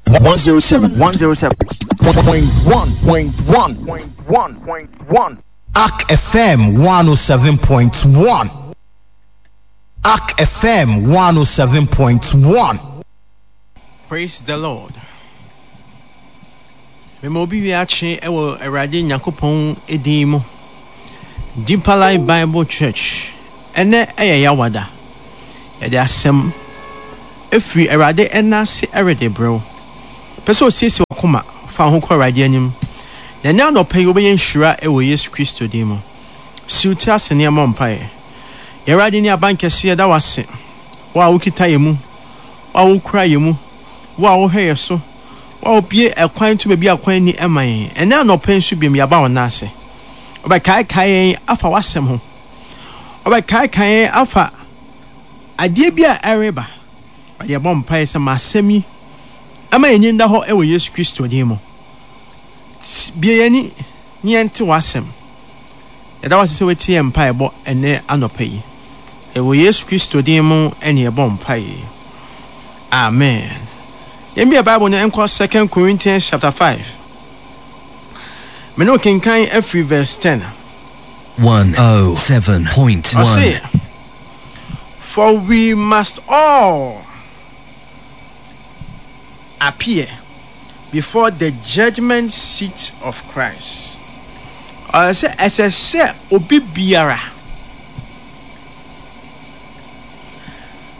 107 107 1.1 1.1 Ark FM 107.1. Ark FM 107.1. Praise the Lord. Mema obi wie akye wɔ Awurade Nyankopɔn din mu. Deeper Life Bible Church. Ɛnɛ ɛyɛ Yawada. Yɛde asɛm efiri Awurade ɛna ase ɛrede brɛw. Pɛ sɛ osiesie wakoma fa ho kɔ Awurade anim. Na ɛnɛ anɔpa yi wobɛyɛ nhyira wɔ Yesu Kristo din mu. Siw ti ase ne yɛmmɔ mpaeɛ. Yɛn Awurade ne abankɛse yɛda wo ase. Wo a wokita yɛn mu, wo a wokura yɛn mu, wo a wohwɛ yɛn so, wo a wobue ɛkwan to baabi a kwan nni ma yɛn. Ɛnnɛ anɔpa yi nso biom yɛaba wo nan ase. Wobɛkaekae yɛn afa w'asɛm ho. Wobɛkaekae yɛn afa adeɛ bi a ɛreba. Awurade yɛbɔ mpaeɛ sɛ ma asɛm yi ɛma yɛn ani nda hɔ wɔ Yesu Kristo din mu. Bue yɛn ani na yɛnte w'asɛm. Yɛda wo ase sɛ woatie yɛn mpaebɔ ɛnnɛ anɔpa yi. Ɛwɔ Yesu Kristo din mu ɛne yɛbɔ mpae yi. Amen. Yɛn bia Bible no nkɔ Second Corinthians chapter 5. Me ne kenkan afiri verse 10. 107.1. Ɔse, For we must all appear before the judgment seat of Christ. Ɔyɛ sɛ ɛsɛ sɛ obi biara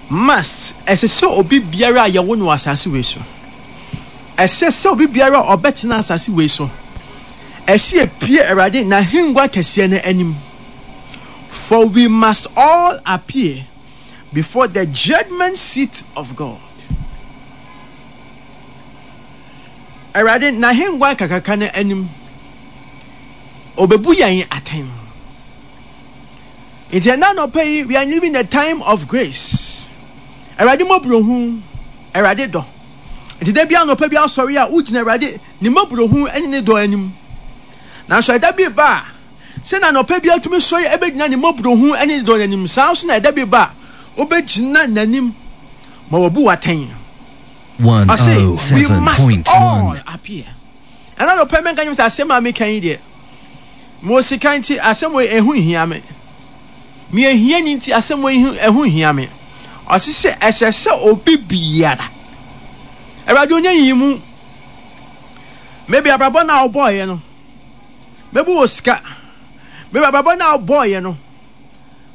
must ɛsɛ sɛ obi biara a yɛwo no wɔ asase wei so. Ɛsɛ sɛ obi biara a ɔbɛtena asase wei so. Ɛsɛ epie Awurade n'ahengua kɛseɛ no anim. For we must all appear before the judgment seat of God. Awurade n'ahengua kakraka no anim, obebu yɛn atɛn. Nti ɛna anɔpa yi, we are living the time of grace. Awurade mmɔborɔhu, Awurade dɔ. Nti da bi anɔpa bi asɔre a, wogyina Awurade ne mmɔborɔhu ne ne dɔ anim. Nanso ɛda bi ba a, sɛnea anɔpa bi atumi sɔre ɛbɛgyina ne mmɔborɔhu ne ne dɔ anim, saa nso na ɛda bi ba a, wobɛgyina n'anim ma wabu w'atɛn. Ɔse, we must all appear. Ɛna anɔpa mɛnka nyɛ sɛ asɛm a meka yi deɛ, mewɔ sika nti asɛm wei ɛho nhia me. Meyɛ hiani nti asɛm wei ɛho nhia me. Ɔse sɛ ɛsɛ sɛ obi biara. Awurade ɔnyɛ nyiyimu. Maybe abrabɔ no a wobɔɔyɛ no, maybe wɔ sika. Maybe abrabɔ no a wobɔɔyɛ no,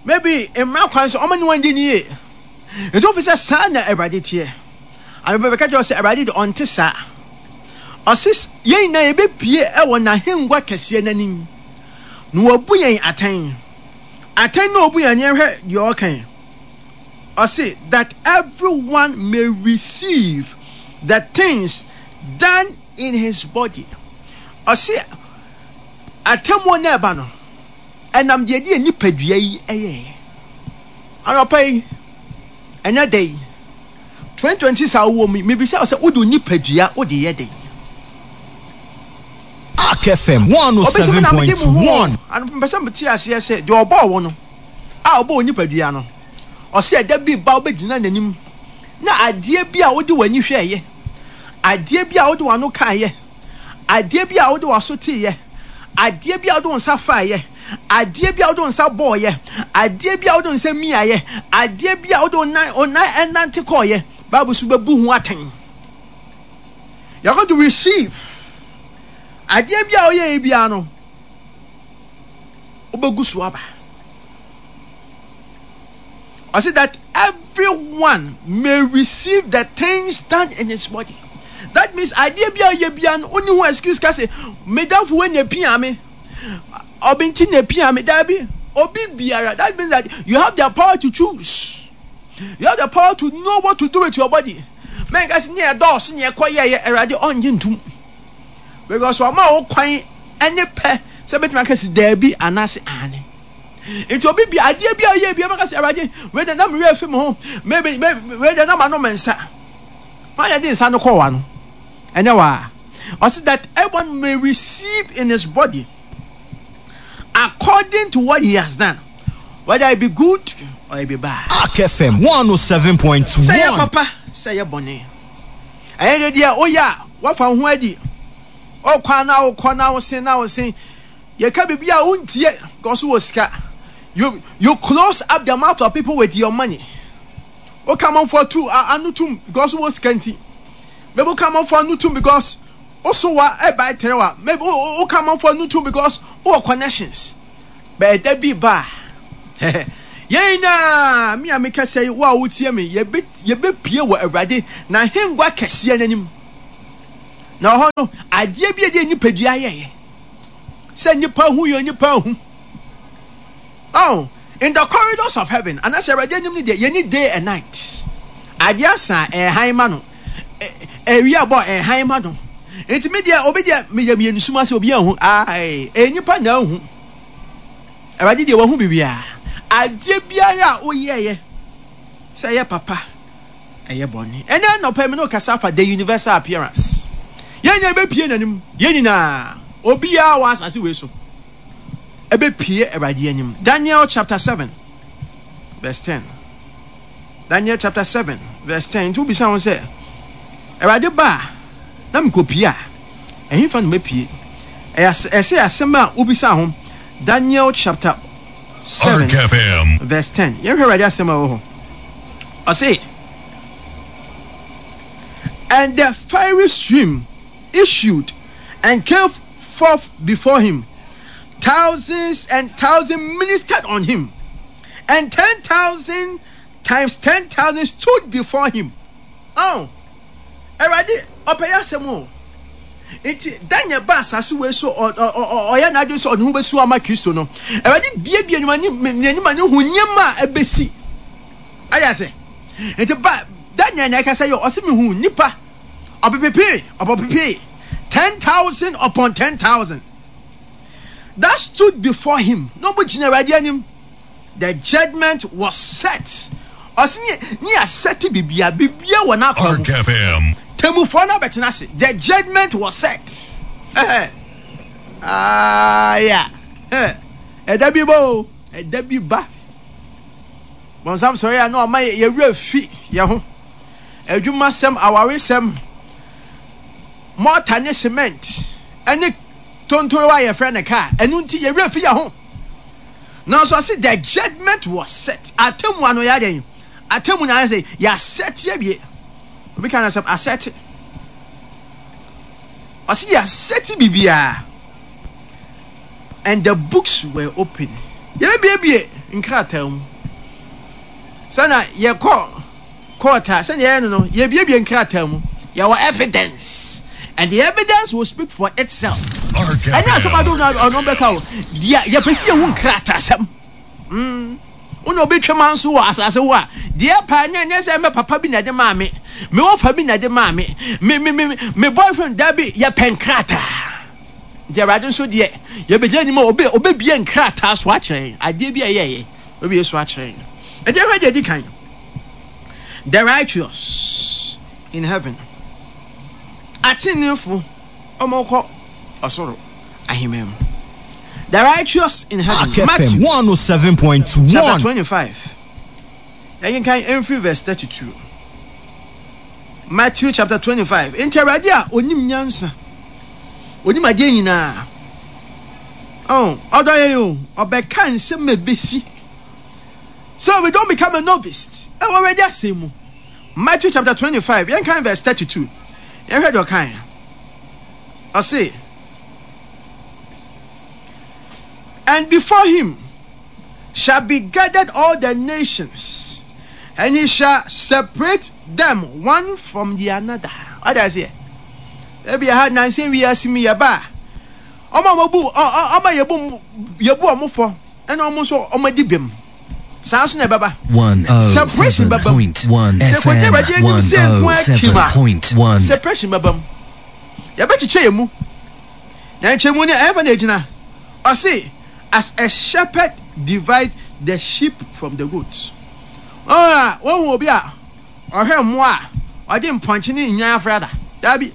maybe mmara kwan so ɔmo ne wɔn di ne yie. Nti wofi sɛ saa na Awurade teɛ. Anɔpa bɛka kyerɛ wo sɛ Awurade de ɔnte saa. Ɔse yɛn nyinaa yɛbɛpue wɔ n'ahengua kɛseɛ no anim na wabu yɛn atɛn. Atɛn na ɔbu yɛn no yɛnhwɛ deɛ ɔka yi. Ɔse that everyone may receive the things done in his body. Ɔse atemmuo no ɛba no ɛnam deɛ ɛde nipadua yi ɛyɛɛ. Anɔpa yi ɛnɛ da yi 2026 a wowɔ mu yi, mebisa wo sɛ wode wo nipadua wode yɛ dɛn? Ark FM Obi sɛ me na mede me ho o. 107.1. Anɔpa mepɛ sɛ mete aseɛ sɛ deɛ ɔbɔɔ wo no a ɔbɔɔ wo nipadua no, ɔsɛ ɛda bi ba wobɛgyina n'anim na adeɛ bi a wode w'ani hwɛeɛ, adeɛ bi a wode w'ano kaeɛ, adeɛ bi a wode w'aso teeɛ, adeɛ bi a wode wo nsa faeɛ, adeɛ bi a wode wo nsa bɔɔyɛ, adeɛ bi a wode wo nsa miaeɛ, adeɛ bi a wode wo nan wo nan ɛnante kɔɔyɛ, Bible so bɛbu ho atɛn. You are going to receive adeɛ bi a woyɛeɛ biara no, wobɛgu so aba. Ɔse that everyone may receive the things done in his body. That means adeɛ bi a woyɛ biara no, wonni ho excuse ka sɛ, me damfo wei na epia me. Obi nti na epia me. Dabi, obi biara. That means that you have the power to choose. You have the power to know what to do with your body. Mɛnka sɛ ne ɛdɔɔso ne ɛkɔ yɛyɛ Awurade ɔngye ntum. Because ɔma wo kwan ne pɛ sɛ bɛtumi aka si daabi anaasɛ aane. Nti obi bi adeɛ bi a ɔyɛ bi ɔbɛka sɛ Awurade wei de na me werɛ fi me ho maybe wei de na ma nom nsa. Hwan na ɛde nsa no kɔɔ w'ano? Ɛnyɛ waa. Ɔse that everyone may receive in his body according to what he has done, whether it be good or it be bad. Ark FM Sɛ ɛyɛ 107.1. papa, sɛ ɛyɛ bɔne. Ɛyɛ de deɛ woyɛ a woafa wo ho adi. Wokɔ a na wokɔ na wosen na wosen. Yɛka biribi a wontie because wowɔ sika. You you close up the mouth of people with your money. Woka amanfoɔ tu ano tum because wowɔ sika nti. Maybe woka amanfoɔ ano tum because woso wa ɛba ɛtɛrɛ wa. Maybe woka amanfoɔ ano tum because wowɔ connections. But ɛda bi ba a, yɛn nyinaa, me a mekasa yi, wo a wotie me, yɛbɛ yɛbɛpue wɔ Awurade n'ahengua kɛseɛ n'anim. Na hɔ no, adeɛ bi a ɛde nipadua yɛeɛ, sɛ nipa hu yɛ nipa hu. Oh, in the corridors of heaven, anaasɛ Awurade anim no deɛ, yɛni day and night. Adeɛ asa a, ɛhan ma no. Awia bɔ a, ɛhan ma no. Nti me deɛ, obi deɛ, meyɛ meyɛ ne sum ase, obi anhu. Ah, ɛyɛ nipa na ahu. Awurade deɛ wahu biribiara. Adeɛ biara a woyɛeɛ, sɛ ɛyɛ papa, ɛyɛ bɔne. Ɛnɛ anɔpa yi me ne wo kasa afa the universal appearance. Yɛn nyinaa bɛpie n'anim, yɛn nyinaa, obiara wɔ asase wei so ɛbɛpie Awurade anim. Daniel chapter 7 verse 10. Daniel chapter 7 verse 10. Nti wobisa ho sɛ, Awurade ba a, na mekɔpie a, ɛhefa na mɛpie? Ɛsɛ asɛm a wobisa ho. Daniel chapter 7 verse 10. Yɛnhwɛ Awurade asɛm a ɛwɔ hɔ. Ɔse, And the fiery stream issued and came forth before him. Thousands and thousands ministered on him, and 10,000 times 10,000 stood before him. Oh, Awurade ɔpɛ yɛ asɛm o. Nti Daniel ba asase wei so ɔyɛ n'adwene sɛ ɔde ho bɛsi ama Kristo no. Awurade biebie n'anim a ne hu nneɛma a ɛbɛsi. Ayɛ ase. Nti ba Daniel na ɛkasa yi ɔse mehu nnipa ɔpepepee ɔpɔpepee 10,000 upon 10,000 that stood before him na ɔmo gyina Awurade anim. The judgment was set. Ɔse ne ne yɛasɛte bibia bibia wɔ n'akwan mu. Temmufoɔ no abɛtena ase. The judgment was set. Ah, yeah. Ɛda bi ba o, ɛda bi ba. Bɔnsam sɔre a na ɔma yɛwerɛ fi yɛn ho. Adwumasɛm, awaresɛm, mɔta ne cement, ɛne tontorowa a yɛfrɛ no kaa. Ɛno nti yɛwerɛ fi yɛn ho. Nanso ɔse the judgment was set. Atemmu ano yɛ adɛn? Atemmu na ayɛ sɛ yɛasɛte awie. Obi ka no asɛm asɛte. Ɔse yɛasɛte biribiara. And the books were open. Yɛbɛbiebie nkrataa mu. Sɛna yɛkɔ court a sɛnea yɛyɛ no no, yɛbiebie nkrataa mu. Yɛwɔ evidence. And the evidence will speak for itself. Ɛnyɛ asɛm ado na ɔno bɛka o. Deɛ yɛpɛ sɛ yɛhu nkrataasɛm. Mm. Wo na obi twe ma nso wɔ asase ho a, deɛ paa nyɛ nyɛ sɛ mɛ papa bi na ɛde maa me, me wɔfa bi na ɛde maa me, me me me me boyfriend dabi yɛpɛ nkrataa. Nti Awurade nso deɛ yɛbɛgyina anim a obe obebie nkrataa so akyerɛ yɛn adeɛ bi a ɛyɛɛyɛ obebie so akyerɛ yɛn. Nti ɛhwɛ deɛ ɛdi kan. The righteous in heaven. Ateneneefo wɔn kɔ ɔsoro ahemman mu. The righteous in heaven. Ark FM Matthew 107.1. chapter 25. Yɛnkenkan mfiri verse 32. Matthew chapter 25. Nti Awurade a onim nyansa, onim adeɛ nyinaa. Oh, ɔdɔ yɛn o, ɔbɛka nsɛm a ebesi. So we don't become a novice. Ɛwɔ Awurade asɛm mu. Matthew chapter 25, yɛnkan verse 32. Yɛnhwɛ deɛ ɔkae. Ɔse, And before him shall be gathered all the nations, and he shall separate them one from the another. Ɔde aseɛ. Ebi ha nansi wiase mu yɛ ba a, ɔmo a wɔbu ɔmo a yɛbu yɛbu ɔmo fɔ ɛna ɔmo nso ɔmo adi bem. Saa nso na ɛbɛba. Separation bɛba mu. Sɛ kɔgyina Awurade anim sɛ nko ara kim a, separation bɛba mu. Yɛbɛkyekyɛ yɛn mu. Na nkyɛmu no ɛmfa na egyina. Ɔse, as a shepherd divides the sheep from the goats. Wɔn a wɔhu obi a ɔhwɛ mmoa a ɔde mpɔnkye ne nnwan afra da. Daabi.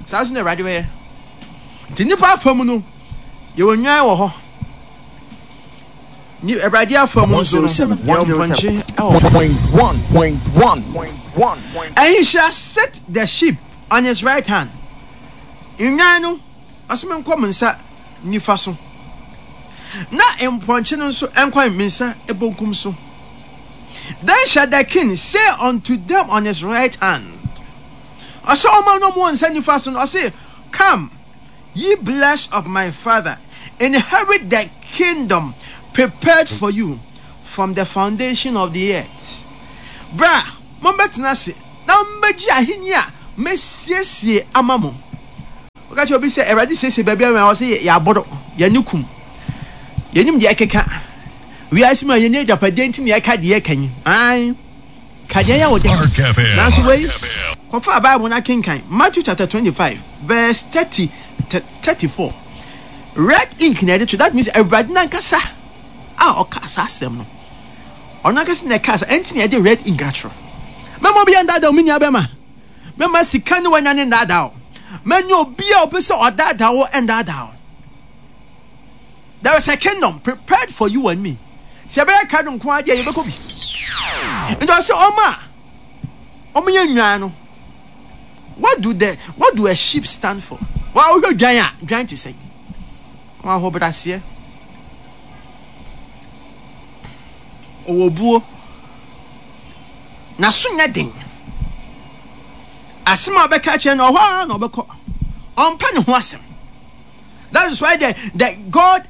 Saa nso na Awurade bɛyɛ. Nti nnipa afa mu no, yɛwɔ nnwan wɔ hɔ. Ni Awurade afa mu nso no, yɛwɔ mpɔnkye wɔ hɔ. And he shall set the sheep. on his right hand. Nnwan no, ɔse menkɔ me nsa nifa so, na mpɔnkye no nso nkɔ me nsa bonkum so. Then shall the king say unto them on his right hand, ɔsɛ ɔma no ɔmo nsa nifa so no, ɔse, Come, ye blessed of my father, inherit the kingdom prepared for you from the foundation of the earth. Bra, mombɛtena ase na mombɛgye ahenni a mesiesie ama mo. Woka kyerɛ obi sɛ Awurade siesie baabi ama yɛn a, ɔse yɛaboro, yɛn ani kum, yɛnim deɛ ɛkeka. Wiase mu a yɛnni agyapadeɛ nti na yɛka deɛ yɛka yi. Ae, ka deɛ ɛyɛ wo dɛ. Nanso wei, kɔfa Bible no akenkan Matthew chapter 25 verse 30 34. Red ink na yɛde to, that means Awurade n'ankasa a ɔkaa saa asɛm no. Ɔno ankasa na ɛkaa saa, ɛnti na yɛde red ink atwerɛ. Mɛma obi andaadaa wo, me nua bɛma. Mɛma sika ne wanya ne ndaadaa wo. Mɛnyɛ obi a ɔpɛ sɛ ɔdaadaa wo ndaadaa wo. There is a kingdom prepared for you and me. Sɛ ɛbɛyɛ ka no nko ara deɛ yɛbɛkɔ bi. Nti ɔsɛ ɔma a ɔmo yɛ nnwan no. What do the what do a sheep stand for? Wa wohwɛ dwan a dwan te sɛn? Wɔn ahobraseɛ. Ɔwɔ buo. N'aso nyɛ den. Asɛm a ɔbɛka akyerɛ no ɔhɔ ara na ɔbɛkɔ. Ɔmpɛ ne ho asɛm. That is why the, the God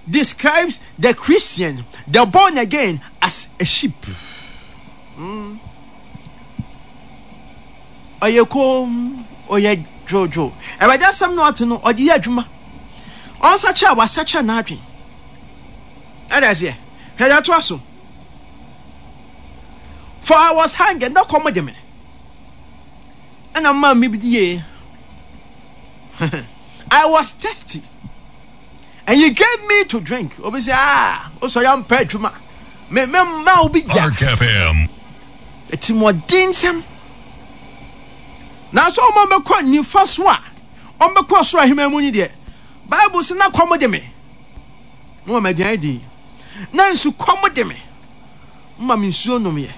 describes the Christian, the born again, as a sheep. Ɔyɛ komm, ɔyɛ dwoodwoo. Awurade asɛm na ɔte no, ɔde yɛ adwuma. Ɔnsakyera a, wasakyera n'adwene. Ɛda aseɛ. Hwɛ deɛ ɛtoa so. For I was hungry, na kɔm de me. Ɛna maa me bi die. I was thirsty. And you gave me to drink. Obi sɛ, ah, wosɔre ampɛ adwuma. Me me mma obi da. Ark FM. Atirimuɔdensɛm. Nanso wɔn a wɔbɛkɔ nifa so a wɔbɛkɔ ɔsoro ahemman mu ni deɛ, Bible sɛ na kɔm de me, moma me aduan dii. Na nsu kɔm de me, moma me nsuo nomyɛ.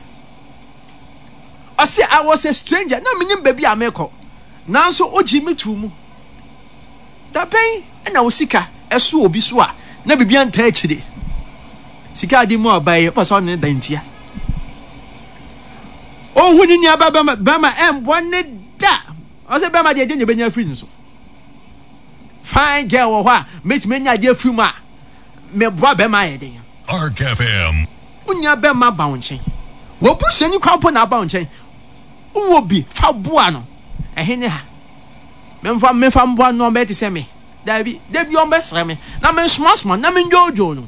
Ɔse I was a stranger, na menim baabi a mekɔ, nanso wogyee me too mu. Da bɛn na wo sika ɛso obi so a na biribi antaa akyire? Sika a de mu ɔbaa yi, wopɛ sɛ ɔne ne da ntia. Ɔnhu ne nua bɛrima bɛrima ɛmboa ne da. Ɔsɛ bɛrima deɛ ɛdeɛ na ɛbɛnya afiri ne so. Fine girl wɔ hɔ a mɛtumi anya adeɛ afiri mu a meboa bɛrima ayɛ den. Ark FM. Wo nua bɛrima ba wo nkyɛn. W'abusuani koraa mpo na aba wo nkyɛn. Wowɔ bi fa boa no. Ɛhe ne ha? Memfa memfa mboa no na ɔmbɛyɛ te sɛ me. Daabi, da bi ɔmbɛsrɛ me na mensomasoma no na mendwoodwoo no.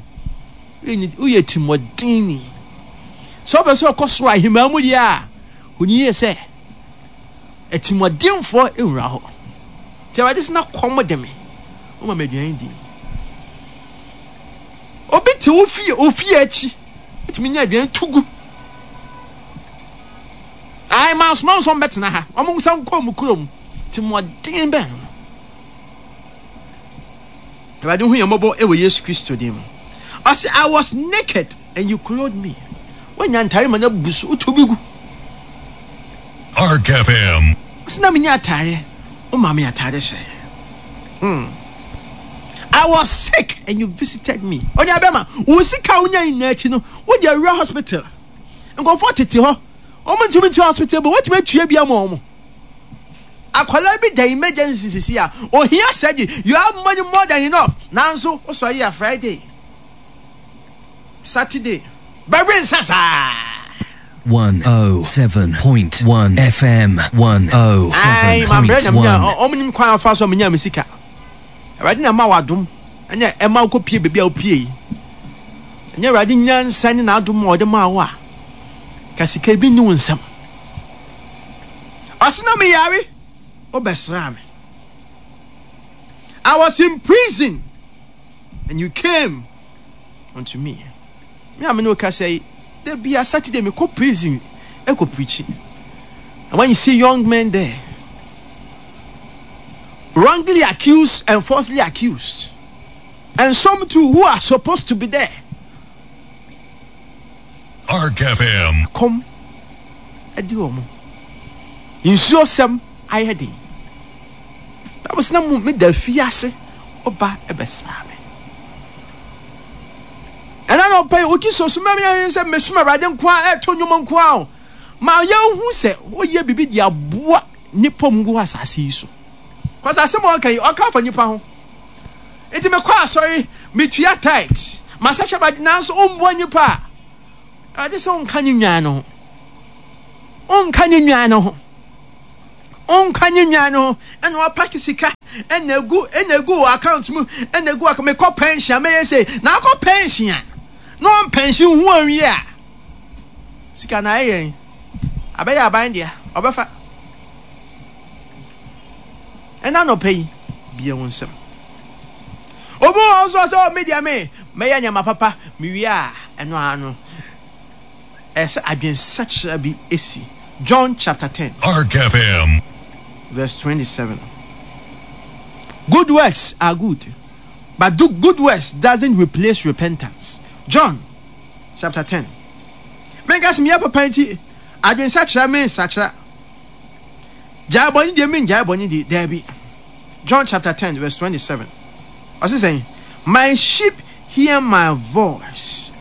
Woyɛ tirimɔdenni. Sɛ wopɛ sɛ ɔkɔ soro ahemmaa mu deɛ a, hu no yie sɛ atirimuɔdenfoɔ nwura hɔ. Nti Awurade sɛ na kɔm de me, woma me aduane di. Obi te wo fie, wo fie akyi, wotumi nya aduane to gu. Ae, mansoma wɔn sɛ wɔmmɛtena ha, wɔn nsa nkɔ wɔn kurom. Tirimɔden bɛn no. Awurade hu yɛn mmɔbɔ wɔ Yesu Kristo din mu. Ɔse, I was naked and you clothed me. Woanya ntare ma no abu so, wotu bi gu. Ark FM. Ɔse na menni atare, woma me atare hyɛ. Hmm. I was sick and you visited me. Onua bɛma, wo sika a wonya nyinaa akyi no, wode awura hospital. Nkurɔfoɔ tete hɔ, wɔn ntumi ntua hospital bill, wotumi atua bi ama wɔn. Akwadaa bi da emergency sisi a, ohia surgery, you have money more than enough, nanso wosɔre a Friday, Saturday, bɛwe nsa saa. 107.1 FM Ae, mambrɛ na menya, 107.1. wɔn nim kwan afa so a menya me sika. Awurade na ɛma wadom, ɛna ɛma wokɔpie baabi a wopie yi. Ɛnyɛ Awurade nyansa ne n'adom a ɔde maa wo a, ka sika bi nni wo nsam. Ɔse na meyare, wobɛsraa me. I was in prison and you came unto me. Me a me ne wo kasa yi, da bia Saturday mekɔ prison ɛkɔ preachi. And when you see young men there, wrongly accused and falsely accused, and some too who are supposed to be there. Ark FM. Kɔm ɛde wɔn. Nsuo sɛm. ayɛ den. Bible sɛ na mo meda afiase, woba bɛsraa me. Ɛna anɔpa yi, wogye so soma me sɛ mesom Awurade nko ara, ɛto nnwom nko ara o. Ma yɛnhu sɛ woyɛ biribi de aboa nnipa mu gu asase yi so. Kɔsɛ asɛm a ɔka yi, ɔka afa nnipa ho. Nti mekɔ asɔre, metua tithe, masakyɛ ba nanso wommoa nnipa a, Awurade sɛ wonka ne nnwan no ho. Wonka ne nnwan no ho. Wonka ne nnwan no ho. Ɛna wapake sika, ɛna egu, ɛna egu wɔ account mu, ɛna egu wɔ mekɔ pension a mɛyɛ sei. Na akɔ pension a, na wɔn pension ho anwie a, sika na ayɛ yɛn. Abɛyɛ aban dea, ɔbɛfa. Ɛna anɔpa yi, bie wo nsam. Obi wɔ hɔ nso ɔsɛ, oh, me deɛ me, mɛyɛ nneɛma papa, mewie a, ɛno ara no. Ɛyɛ sɛ adwensakyera bi si. John chapter 10. Ark FM. Verse 27. Good works are good, but do good works doesn't replace repentance. John chapter 10. Menka sɛ meyɛ papa nti, adwensakyera mensakyera. Gyae bɔne deɛ mengyae bɔne di, daabi. John chapter 10 verse 27. Ɔse sɛn? My sheep hear my voice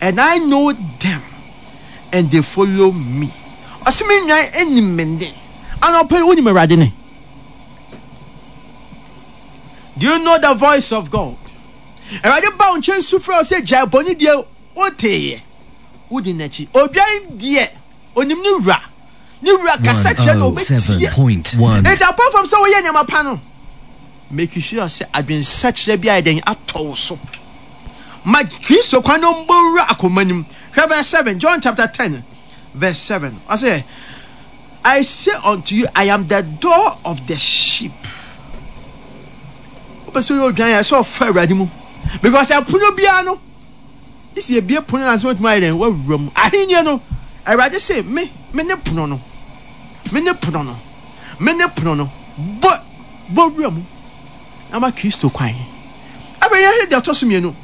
and I know them and they follow me. Ɔse me nnwan anim me nne. Anɔpa yi wonim Awurade ne? Do you know the voice of God? Awurade ba wo nkyɛn su frɛ wo sɛ gyae bɔne deɛ woteeɛ. Wodi n'akyi. Odwan deɛ onim ne wura. Ne wura kasa kyerɛ no ɔbɛtie. 107.1. Enti apart from sɛ woyɛ nneɛma pa no, make sure sɛ adwensakyera bi ayɛ dɛn atɔ wo so. Ma Kristo kwan no mbɔ nwura akoma no mu. Hwɛ verse 7, John chapter 10 verse 7. Ɔsɛ, I say unto you, I am the door of the sheep. Wopɛ sɛ woyɛ odwan a, ɛsɛ ɔfa Awurade mu. Because ɛpono biara no, Gye sɛ yɛbue pono no ansa watumi ayɛ dɛn? Wawura mu. Ahenni no, Awurade se, me, me ne pono no. Me ne pono no. Me ne pono no. Bɔ, bɔ wura mu na ma Kristo kwan. Afei yɛhwɛ deɛ ɔtɔ so mmienu.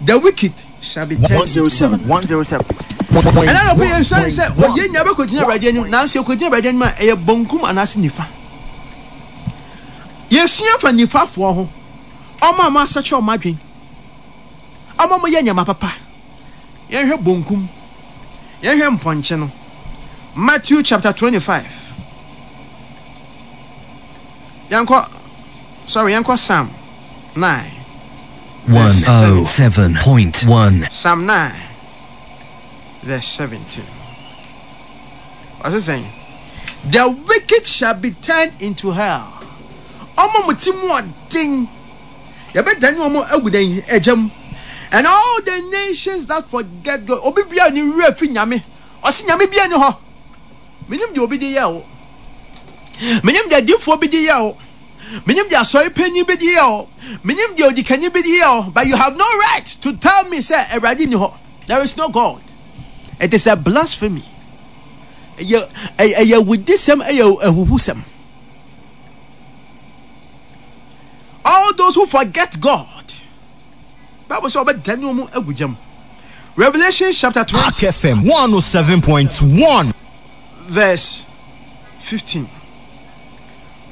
The wicked shall be turned into 107, 107. Ɛna anɔpa yɛ nsua ne sɛ ɔyɛ nyinaa bɛkɔgyina Awurade anim, nanso yɛkɔgyina Awurade anim a ɛyɛ bonkum anaasɛ nifa. Yɛsua fa nifafoɔ ho, ɔmo a wɔasakyera wɔn adwene. Ɔma mo yɛ nneɛma papa. Yɛnhwɛ bonkum. Yɛnhwɛ mpɔnkye no. Matthew chapter 25. Yɛnkɔ, sorry, yɛnkɔ Psalm 9. Verse 17. 107.1. Psalm 9, verse 17. Ɔse sɛn? The wicked shall be turned into hell. Ɔma mo ti mu ɔden. Yɛbɛdane wɔn agu dɛn? Egya mu. And all the nations that forget God. Obi biara ne werɛ fi Nyame. Ɔse Nyame biara ni hɔ. Menim deɛ obi de yɛ wo. Menim deɛ adiifoɔ bi de yɛ wo. Menim deɛ asɔre panyin bi de yɛ wo. Menim deɛ odikanyi bi de yɛ wo. But you have no right to tell me sɛ Awurade ni hɔ. There is no God. It is a blasphemy. Ɛyɛ ɛyɛ awudisɛm, ɛyɛ ahuhusɛm. All those who forget God. Bible sɛ ɔbɛdane wɔn agu gya mu. Revelation chapter 20. Ark FM 107.1. Verse 15.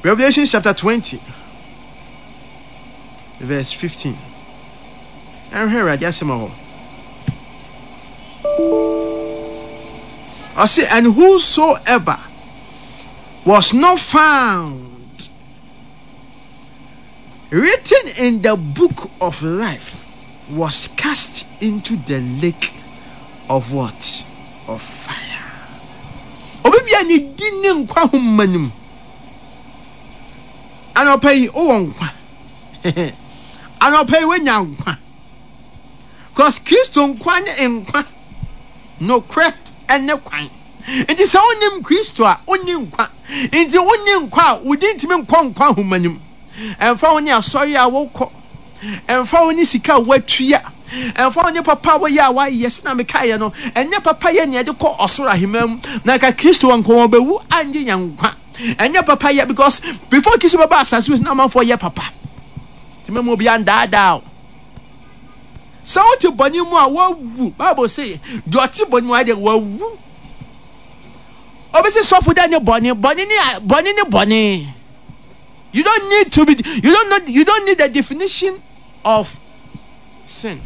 Revelation chapter 20. Verse 15. Ɛnhwɛ Awurade asɛm wɔ hɔ. Ɔse, and whosoever was not found written in the book of life was cast into the lake of what? Of fire. Obi bia ne di ne nkwa homa no mu. Anɔpa yi wowɔ nkwa. Anɔpa yi woanya nkwa. Cause Kristo nkwa ne nkwa. Nokorɛ ne kwan. Nti sɛ wonnim Kristo a, wonni nkwa. Nti wonni nkwa a, wo din ntumi nkɔ nkwa nhoma no mu. Ɛmfa ho ne asɔre a wokɔ, ɛmfa ho ne sika a woatua, ɛmfa ho ne papa a woyɛ a woayɛ, sɛnea mekaeɛ no, ɛnyɛ papa yɛ nea ɛde kɔ ɔsoro ahemman mu. Na nka Kristo anka wɔbɛwu angye yɛn nkwa. Ɛnyɛ papa yɛ because before Kristo bɛba asase wei so na amanfoɔ yɛ papa. Nti mɛma obi andaadaa wo. Sɛ wote bɔne mu a, woawu. Bible se, deɛ ɔte bɔne mu ayɛ deɛ wawu. Obi se sɔfo dɛ ne bɔne, bɔne ne bɔne ne bɔne. You don't need to be you don't know you don't need the definition of sin.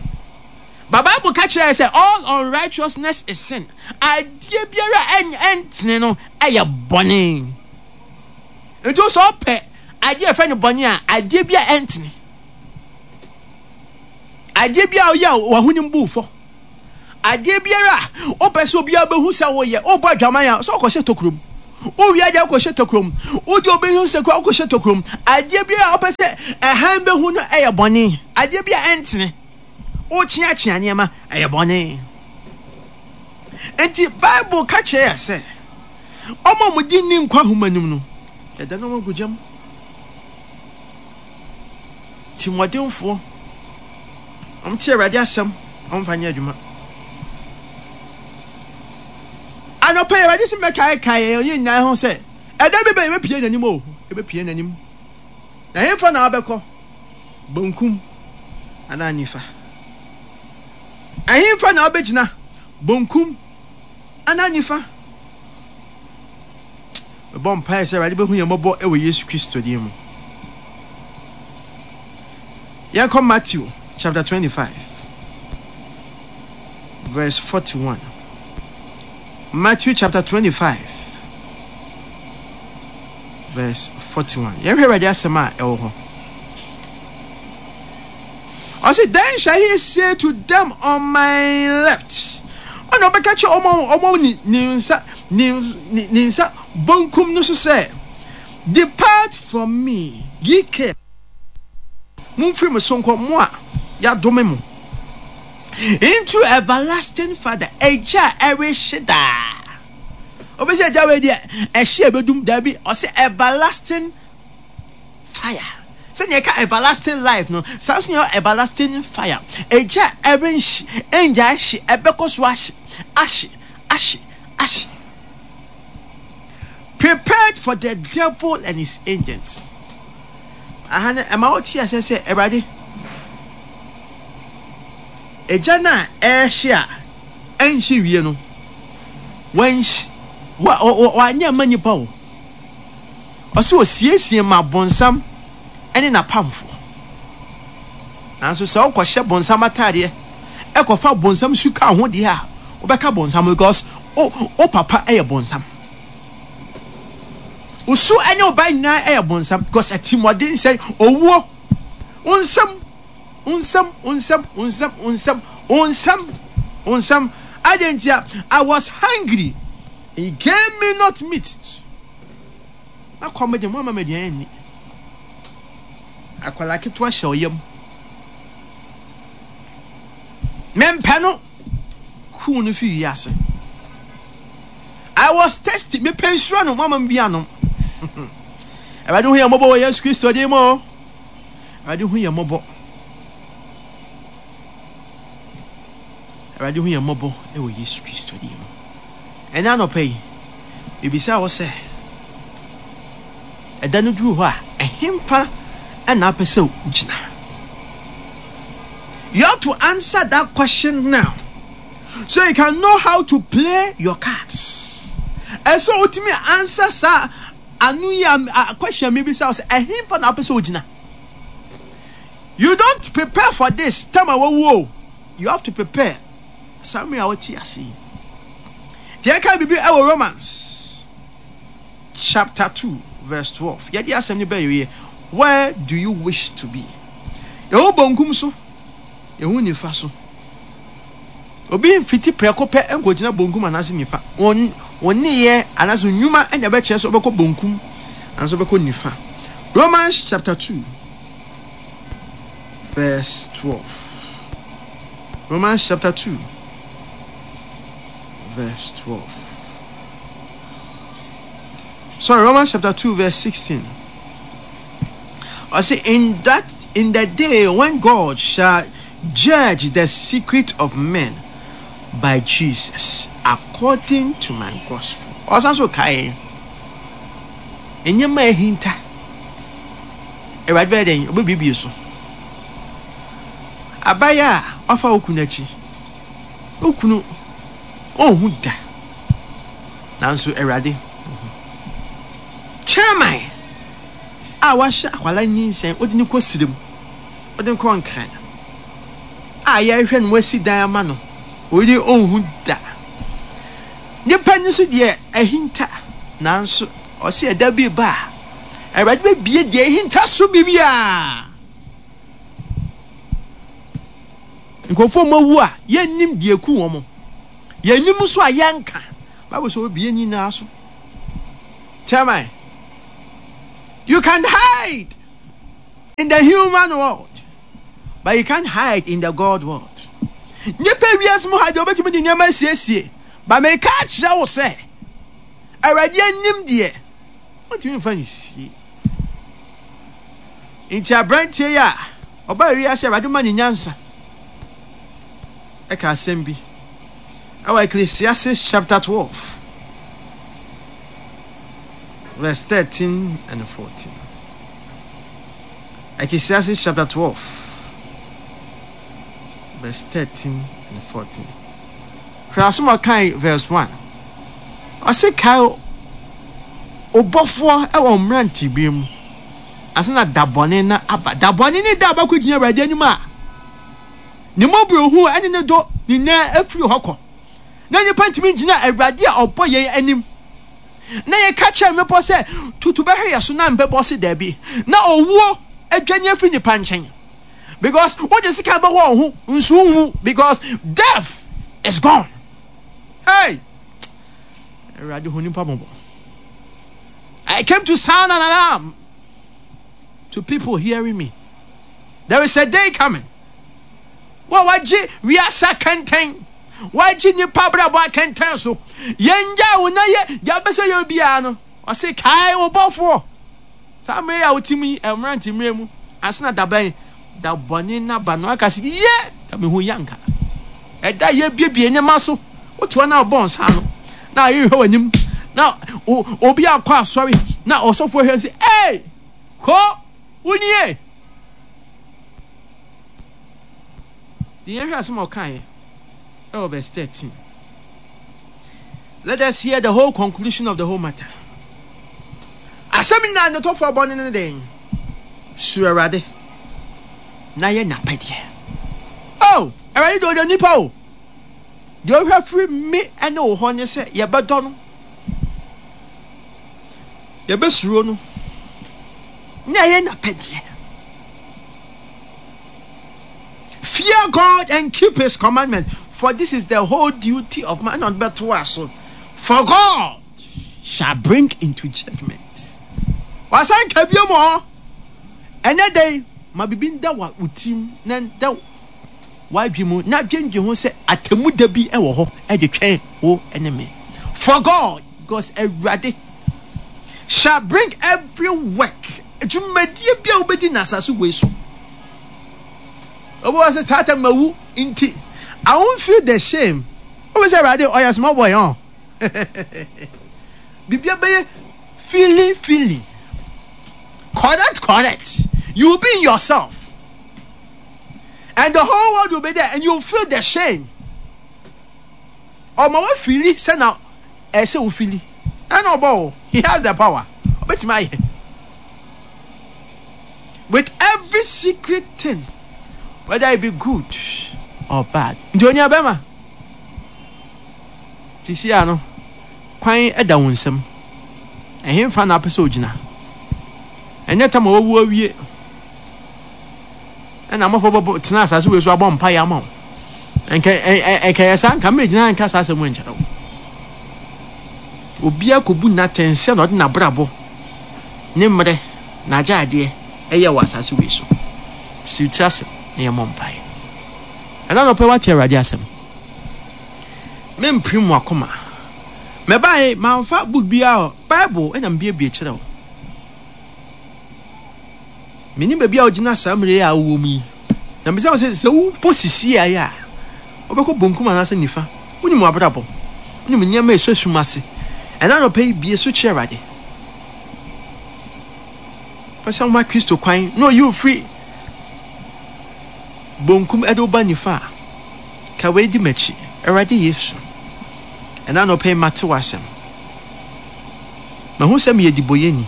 But Bible ka kyerɛ sɛ all unrighteousness is sin. Adeɛ biara a ɛntene no ɛyɛ bɔne. Nti sɛ ɔpɛ adeɛ a ɛfɛ no bɔne a adeɛ bi a ɛntene. Adeɛ bi a ɔyɛ a w'ahonim bu fɔ. Adeɛ biara a wopɛ sɛ obiara bɛhu sɛ woyɛ, wobɔ adwaman a, sɛ wokɔhyɛ tokurom. Wowie adeɛ a wokɔhyɛ tokurom. Wode obi ho sɛ kura wokɔhyɛ tokurom. Adeɛ biara a wopɛ sɛ ɛhan bɛhu no ɛyɛ bɔne. Adeɛ bi a ɛntene. Wokyeakyea nneɛma ɛyɛ bɔne. Enti Bible ka kyerɛ yɛ sɛ wɔn a wɔdi nni nkwa nhoma no mu no, yɛda no wɔn agu gya mu. Timmɔdenfoɔ, wɔte Awurade asɛm, wɔmfa nyɛ adwuma. Anɔpa yi, Awurade sɛ mɛkaekae yɛn nyinaa ho sɛ, ɛda bi bɛ yɛbɛpie n'anim o, yɛbɛpie n'anim. Na hemfa na wabɛkɔ? Bonkum anaa nifa? Ɛhemfa na wabɛgyina? Bonkum anaa nifa? Mebɔ mpaeɛ sɛ Awurade bɛhu yɛn mmɔbɔ wɔ Yesu Kristo din mu. Yɛnkɔ Matthew chapter 25 verse 41. Matthew chapter 25 verse 41. Yɛnhwɛ Awurade asɛm a ɛwɔ hɔ. Ɔse, Then shall he say to them on my left. Ɔna ɔbɛka kyerɛ wɔn a wɔwɔ ne ne nsa ne ne ne nsa bonkum no so sɛ, Depart from me, ye cursed. Momfiri me so nkɔ, mo a yɛadome mo. Into everlasting fire, egya a ɛrehye daa. Obi sɛ egya wei deɛ ɛhye a ɛbɛdum, daabi, ɔse everlasting fire. Sɛnea ɛka everlasting life no, saa nso na ɛwɔ everlasting fire. Egya a ɛrenhye, ɛngyae hye, ɛbɛkɔ so ahye, ahye, ahye, ahye. Prepared for the devil and his agents. Aha no, ɛma wote aseɛ sɛ Awurade, egya no a ɛrehye a ɛnhye wie no, wanhye, wa, wa, wanyɛ mma nnipa o. Ɔse osiesie ma bonsam ne n'apamfoɔ. Nanso sɛ wokɔhyɛ bonsam ataadeɛ ɛkɔfa bonsam su ka ho deɛ a, wobɛka bonsam because wo wo papa yɛ bonsam. Wo su ne wo ba nyinaa yɛ bonsam because atirimuɔden sɛ owuo, wo nsam, wo nsam, wo nsam, wo nsam, wo nsam, wo nsam, wo nsam. Adɛn ntia? I was hungry. He gave me not meat. Na kɔm de mo ama me aduan anni. Akwadaa ketewa hyɛ ɔyam. Mempɛ no. Kuu no fi wiase. I was thirsty. Mepɛ nsuo anom. Mo ama me bi anom. Awurade hu yɛn mmɔbɔ wɔ Yesu Kristo din mu. Awurade hu yɛn mmɔbɔ. Awurade hu yɛn mmɔbɔ wɔ Yesu Kristo din mu. Ɛnnɛ anɔpa yi, mebisa wo sɛ, ɛda no duru hɔ a, ɛhefa na wopɛ sɛ wogyina? You have to answer that question now so you can know how to play your cards. Ɛsɛ wotumi answer saa ano yi a question mebisa wo sɛ, ɛhefa na wopɛ sɛ wogyina? You don't prepare for this time a wawu o. You have to prepare saa mmere a wote ase yi. Deɛ ɛka biribi ɛwɔ Romans chapter 2 verse 12. Yɛde asɛm no bɛyɛ where do you wish to be? Yɛwɔ bonkum so, yɛwɔ nifa so. Obi mfiti prɛko pɛ nkɔgyina bonkum anaasɛ nifa. Wɔn nneyɛɛ anaasɛ nnwuma na ɛbɛkyerɛ sɛ wobɛkɔ bonkum anaasɛ wobɛkɔ nifa. Romans chapter 2 verse 12. Romans chapter 2 verse 12. Sorry, Romans chapter 2 verse 16. I say in that in the day when God shall judge the secret of men by Jesus according to my gospel. Ɔsan so kae nneɛma a ahinta. Awurade bɛyɛ dɛn? Ɔbɛbuebue so. Abayewa a wafa wo kunu akyi. Wo kunu ɔnhu da. Nanso Awurade hu. Chairman a wahyɛ akwadaa nyinsɛn, wode no kɔ sirem, wode no kɔ Nkran a yɛrehwɛ no wasi dan ama no, oyi ɔnhu da. Nipa no nso deɛ ahinta, nanso ɔse ɛda bi ba a, Awurade bɛbie deɛ ahinta so biribiara. Nkurɔfoɔ a wɔawu a yɛnnim deɛ ɛku wɔn, yɛnnim nso a yɛnka. Bible sɛ wɔbɛbie nyinaa so. Chairman, you can hide in the human world, but you can't hide in the God world. Nipa wiase mu ha deɛ wobɛtumi de nneɛma asiesie, ba meka akyerɛ wo sɛ, Awurade anim deɛ, wontumi mfa nsie. Nti aberanteɛ yi a ɔbaa wiase Awurade ma ne nyansa ɛka asɛm bi ɛwɔ Ecclesiastes chapter 12 verse 13 and 14. Ecclesiastes chapter 12 verse 13 and 14. Hwɛ asɛm a ɔkae verse 1. Ɔse kae obɔfoɔ ɛwɔ mmerantebere mu ansa na da bɔne no aba. Da bɔne ne da a wobɛkɔgyina Awurade anim a ne mmɔborɔhunu ne ne dɔ nyinaa afiri hɔ kɔ. Na nnipa ntumi ngyina Awurade a ɔbɔ yɛn anim. Na yɛka kyerɛ mmepɔ sɛ, Tutu bɛhwɛ yɛn so, na mbɛbɔ se daabi. Na owuo adwane afiri nnipa nkyɛn. Because wode sika bɛwɔ wo ho nso wonwu because death is gone. Hey! Awurade hu nipa mmɔbɔ. I came to sound an alarm to people hearing me. There is a day coming. Wo a wagye wiase akɛntɛn, wagye nipa abrabɔ akɛntɛn so. Yɛn gya wo na yɛ deɛ abɛsɛ yɛ obiara no. Ɔse kae wo bɔfoɔ. Saa mmerɛ yi a wote mu yi, mmerante mmerɛ mu, ansa na dabɛn da bɔne no aba no aka sɛ yɛ da mehu yɛ anka. Ɛda yɛbiebie nneɛma so, wote hɔ na wobɔ nsa ano na ayɛ hwɛ w'anim na obi akɔ asɔre na ɔsɔfoɔ hwɛ sɛ ee kɔ wonie. Deɛ yɛhwɛ asɛm a ɔkaeɛ ɛwɔ verse 13. Let us hear the whole conclusion of the whole matter. Asɛm nyinaa ne tɔfoɔ bɔne ne dɛn? Suro Awurade na yɛ n'apɛdeɛ. Oh, Awurade deɛ ɔdɔ nipa o. Deɛ ɔhwɛ firi me ne wo hɔ ne sɛ yɛbɛdɔ no, yɛbɛsuro no, na yɛ n'apɛdeɛ. Fear God and keep his commandment, for this is the whole duty of man. Ɛna ɔde bɛto aso. For God shall bring into judgment. Wasan ka bio mu hɔ. Ɛnɛ da yi, ma biribi nda wo tirim na nda w'adwene mu na dwendwen ho sɛ atemmu da bi wɔ hɔ de twɛn wo ne me. For God, because Awurade, shall bring every work, dwumadie bi a wobɛdi na asase wei so. Obi wɔ sɛ tata mawu nti, I won't feel the shame. Obi sɛ Awurade ɔyɛ small boy ɔn. Biribi bɛyɛ feeling feeling. Correct correct. You will be in yourself. And the whole world will be there and you will feel the shame. Ɔma wafili sɛ na ɛsɛ wofili. Ɛna ɔbɔ o. He has the power. Ɔbɛtumi ayɛ. With every secret thing, whether it be good or bad. Nti onua bɛma. Sisi ano, kwan da wo nsam. Ɛhefa na apɛ sɛ ogyina? Ɛnyɛ tam a wawu awie. Ɛna amafo bɛbɔ tena asase wei so abɔ mpaeɛ ama wo. Nka ɛnka yɛ saa nka mɛgyina nka saa asɛm nkyerɛ wo. Obiara kɔbu n'atɛn sɛ na ɔde n'abrabɔ ne mmerɛ n'agyadeɛ ɛyɛ wɔ asase wei so. Siw tiri ase na yɛmmɔ mpaeɛ. Ɛna nɔpɛ wate Awurade asɛm. Mempirim mo akoma. Mɛbae mamfa book biara Bible ɛna mebiebie kyerɛ wo. Menim baabi a wogyina saa mmerɛ yi a wowɔ mu yi. Na mebisa wo sɛ, sɛ wobɔ sisi ayɛ a, wobɛkɔ bonkum anaasɛ nifa? Wonim w'abrabɔ. Wonim nneɛma a ɛsɔ sum ase. Ɛna anɔpa yi, bue so kyerɛ Awurade. Pɛ sɛ woma Kristo kwan na ɔyi wo firi bonkum de wo ba nifa a, ka wei di m'akyi. Awurade Yesu, ɛna anɔpa yi mate w'asɛm. Mahu sɛ meyɛ dibɔyɛni.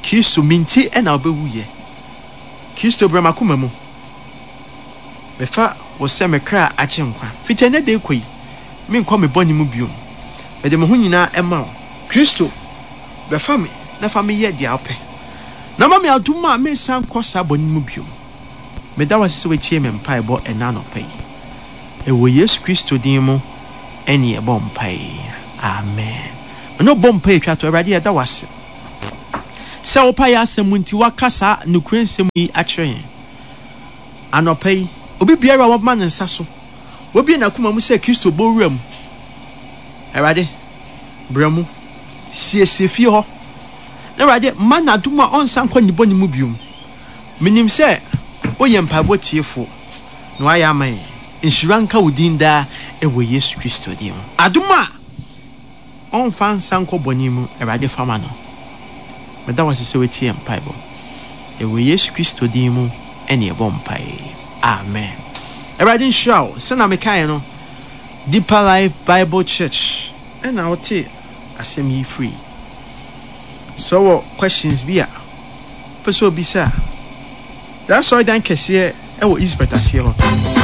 Kristo, me nti na wobɛwuiɛ. Kristo, bra m'akoma mu. Mefa wo sɛ me kra agyenkwa. Fiti ɛnnɛ da rekɔ yi, menkɔ me bɔne mu bio. Mede me ho nyinaa ma wo. Kristo, bɛfa me na fa me yɛ deɛ wopɛ. Na ma me adom a mensan nkɔ saa bɔne no mu bio. Meda wo ase sɛ woatie me mpaebɔ ɛnnɛ anɔpa yi. Ɛwɔ Yesu Kristo din mu ɛne yɛbɔ mpae. Amen. Me ne wo bɔ mpae twa to. Awurade yɛda wo ase sɛ wopa yɛn asɛm mu nti woaka saa nokorɛ nsɛm yi akyerɛ yɛn. Anɔpa yi, obi biara a wama ne nsa so, wabue n'akoma mu sɛ Kristo bɔ wura mu. Awurade, bra mu. Siesie fie hɔ. Na Awurade, ma no adom a ɔnsan nkɔ ne bɔne mu bio. Menim sɛ woyɛ mpaebɔ tiefoɔ na woayɛ ama yɛn. Nhyira nka wo din daa wɔ Yesu Kristo din mu. Adom a ɔmfa nsa nkɔ bɔne mu, Awurade fa ma no. Meda wo ase sɛ woatie yɛn mpaebɔ. Ɛwɔ Yesu Kristo din mu ɛne yɛbɔ mpae. Amen. Awurade nhyira wo. Sɛnea mekaeɛ no, Deeper Life Bible Church ɛna wote asɛm yi firi. Sɛ wowɔ questions bi a wopɛ sɛ obisa a, yɛn asɔredan kɛseɛ wɔ Eastport aseɛ hɔ.